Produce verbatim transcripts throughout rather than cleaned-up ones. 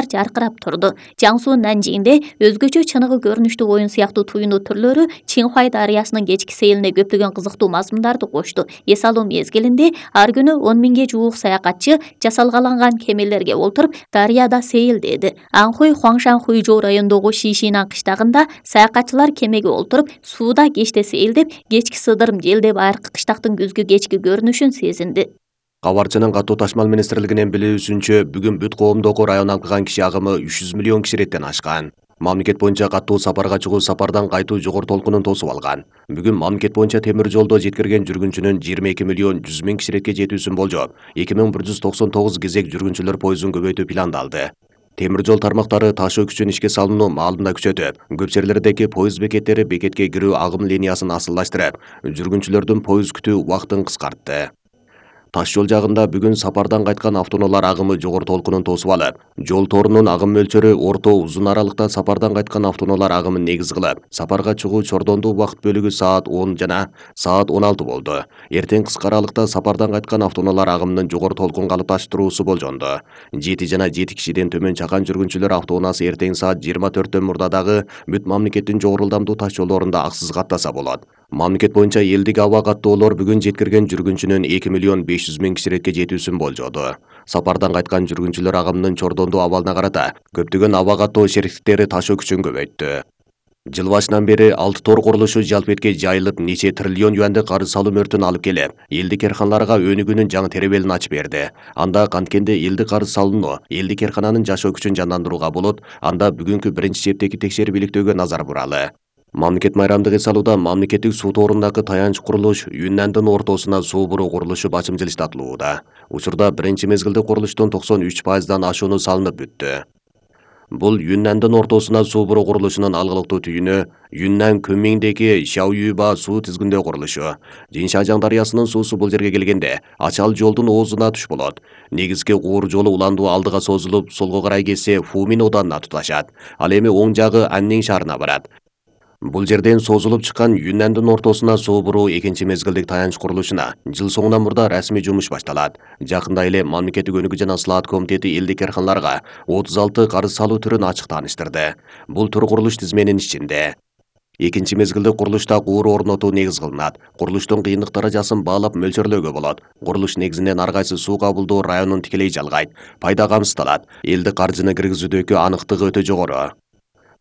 жаркырап турду. Жаңсу Нанжиңде өзгөчө чыныгы көрүнүштүү оюн сыяктуу туюну түрлөрү Чинхуай дарыясынын кечки сейилине көптөгөн кызыктуу мазмундарды кошту. Эс алуу мезгилинде ар күнү он миңге жуук саякатчы жасалгаланган кемелерге олтуруп дарыяда сейилдеди. Анхуй Хуаңшан Хуйжоу районундогу Шишинан кыштагында саякатчылар кемеге олтуруп сууда кечте сейилдеп, кечки сыдырым желдеп айркы кыштактын күзгү кечки көрүнүшүн сезинди. Кабарчынын катуу ташмал министрлигинин билүүсүнчө, бүгүн бүт коомдогу район алган киши агымы үч жүз миллион киши реттен ашкан. Мамлекет боюнча катуу сапарга чыгуу сапардан кайтуу жогору толкунун тосуп алган. Бүгүн мамлекет боюнча темир жолдо жеткирген жүргүнчүнүн жыйырма эки миллион жүз миң киши ретке жетүүсүн болжоп, эки миң бир жүз токсон тогуз кезек жүргүнчүлөр поездун көбөйтүү пландалды. Темир жол тармактары ташуу күчүн ишке салууну маалында күчөтүп, көп жерлердеги поезд бекеттери бекетке кирүү агым линиясын асылдаштырып, жүргүнчүлөрдүн поезд күтүү убактын кыскартты. Таш жол жагында бүгүн сапардан кайткан автоунаалар агымы жогору толкунун тосуп алып, жол торунун агым мөлчөрү орто узун аралыкта сапардан кайткан автоунаалар агымын негиз кылып, сапарга чыгуу чордондуу убакыт бөлүгү саат он жана саат он алты болду. Эртең кыска аралыкта сапардан кайткан автоунаалар агымынын жогору толкун калыпташтыруусу болжонду. Жети жана жети кишиден төмөн чакан жүргүнчүлөр автоунаасы эртең саат жыйырма төрттөн мурда дагы бүт мамлекеттин жогору ылдамдуу таш жолдорунда аксыз каттаса болот. Мамлекет боюнча элдик аба каттоолор бүгүн жеткирген жүргүнчүнүн эки миллион беш жүз миң киши ретке жетүүсүн болжоду. Сапардан кайткан жүргүнчүлөр агымынын чордондуу абалына карата көптөгөн аба каттоо шериктиктери ташуу күчүн көбөйттү. Жыл башынан бери алты тор курулушу жалпетке жайылып, нече триллион юандык карыз салуу мөртүн алып келип, элдик эрканаларга өнүгүүнүн жаңы теребелин ачып берди. Анда канткенде элдик карыз салууну, элдик эркананын жашоо күчүн жандандырууга болот, анда бүгүнкү биринчи чептеги текшерип иликтөөгө назар буралы. Мамлекет майрамдык эс алууда мамлекеттик суу торундагы таянч курулуш Юннандын ортосуна суу буруу курулушу бачым жылыштатылууда. Учурда биринчи мезгилде курулуштун токсон үч пайыздан ашууну салынып бүттү. Бул Юннандын ортосуна суу буруу курулушунун алгылыктуу түйүнү Юннан Көнмиңдеги Шаоюба суу тизгиндөө курулушу. Жиншажаң дарыясынын суусу бул жерге келгенде Ачал жолдун оозуна туш болот. Негизги куур жолу уландуу алдыга созулуп, солго карай кетсе Фумин оданына туташат. Ал эми оң жагы Аннин шаарына барат. Бул жерден созулуп чыккан Юннандын ортосуна суу буруу экинчи мезгилдик таянч курулушуна жыл соңунан мурда расмий жумуш башталат. Жакында эле Мамлекеттик өнүгүү жана слаат комитети элдик эрканаларга отуз алты карыз салуу түрүн ачык тааныштырды. Бул тур курулуш тизменин ичинде. Экинчи мезгилдик курулушта куур орнотуу негиз кылынат. Курулуштун кыйындык даражасын баалап мөлчөрлөөгө болот. Курулуш негизинен ар кайсы суу кабылдоо районун тикелей жалгайт. Пайда камсыздалат. Элдик каржыны киргизүүдөгү аныктыгы өтө жогору.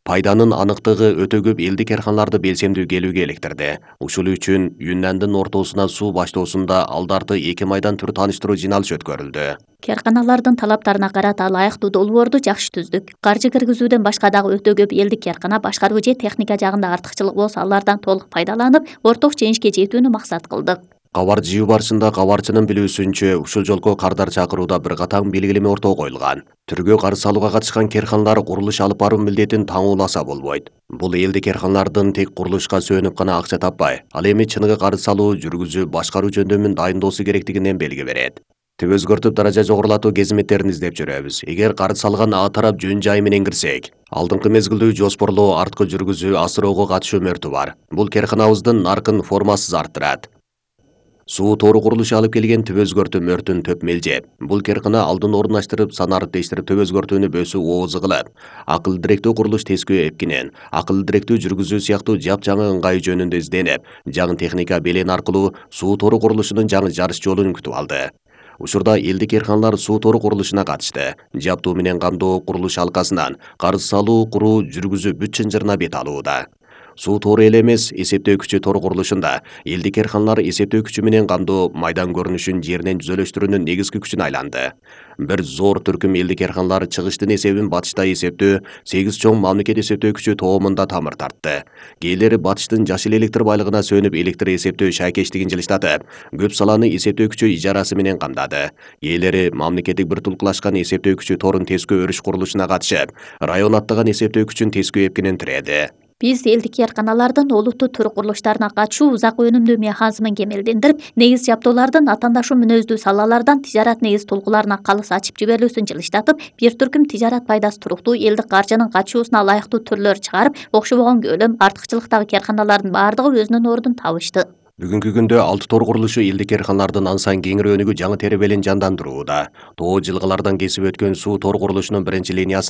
Пайданын аныктыгы өтө көп элдик эрканаларды белсемдүү келүүгө электирди. Ушул үчүн Юннандын ортосуна суу баштоосунда алдарты эки майдан түр тааныштыруу жыйналыш өткөрүлдү. Керканалардын талаптарына карата ылайыктуу долбоорду жакшы түздүк. Каржы киргизүүдөн башка дагы өтө көп элдик эркана башкаруу же техника жагында артыкчылык болсо алардан толук пайдаланып, орток жеңишке жетүүнү максат кылдык. Кабар жыйуу барышында кабарчынын билүүсүнчө, ушул жолку кардар чакырууда бир катар белгилеме ортого коюлган. Түргө карыз салууга катышкан керканалар курулуш алып баруу милдетин таңууласа болбойт. Бул элдик эрканалардын тек курулушка сөөнүп гана акча таппай, ал эми чыныгы карыз салуу, жүргүзүү, башкаруу жөндөмүн дайындоосу керектигинен белги берет. Түп өзгөртүп даража жогорулатуу кезметтерин издеп жүрөбүз. Эгер карыз салган А тарап жөн жай менен кирсек, алдыңкы мезгилдүү жоспорлоо, арткы жүргүзүү, асыроого катышуу мөртү бар. Бул керканабыздын наркын формасыз арттырат. Суу тору курулушу алып келген түп өзгөртүү мөртүн төп мелжеп. Бул керкана алдын орундаштырып, санарып тештирип төп өзгөртүүнү бөсүү оозу кылып, акылдуу директүү курулуш тескөө эпкинен, акылдуу директүү жүргүзүү сыяктуу жапжаңы ыңгайы жөнүндө изденип, жаңы техника белен аркылуу суу тору курулушунун жаңы жарыш жолун күтүп алды. Учурда элдик эрканалар суу тору курулушуна катышты. Жаптуу менен камдоо курулуш алкасынан карыз салуу, куруу, жүргүзүү бүт чынжырына бет алууда. Суу тору эле эмес, эсептөө күчү тору курулушунда элдик эрканалар эсептөө күчү менен камдоо майдан көрүнүшүн жеринен жүзөлөштүрүүнүн негизги күчүнө айланды. Бир зор түркүм элдик эрканалар чыгыштын эсебин батышта эсептөө, сегиз чоң мамлекет эсептөө күчү тоомунда тамыр тартты. Кээлери батыштын жашыл электр байлыгына сөнүп электр эсептөө шайкештигин жылыштатып, көп саланы эсептөө күчү ижарасы менен камдады. Кээлери мамлекеттик бир тулкулашкан эсептөө күчү торун тескөө өрүш курулушуна катышып, район аттаган эсептөө күчүн тескөө эпкинен тиреді. Биз элдик эрканалардын олуттуу тур курулуштарына катышуу узак өнүмдүү механизмин кемелдендирип, негиз жабдуулардын атаандашуу мүнөздүү салалардан тижарат негиз толкууларына калыс ачып жиберилүүсүн жылыштатып, бир түркүм тижарат пайдасы туруктуу элдик каржынын качуусуна ылайыктуу түрлөр чыгарып, окшобогон көлөм, артыкчылыктагы керканалардын баардыгы өзүнүн ордун табышты. Бүгүнкү күндө алты тор курулушу элдик эрканалардын ансан кеңири өнүгүү жаңы теребелин жандандырууда. Тоо жылгалардан кесип өткөн суу тор курулушунун биринчи линиясы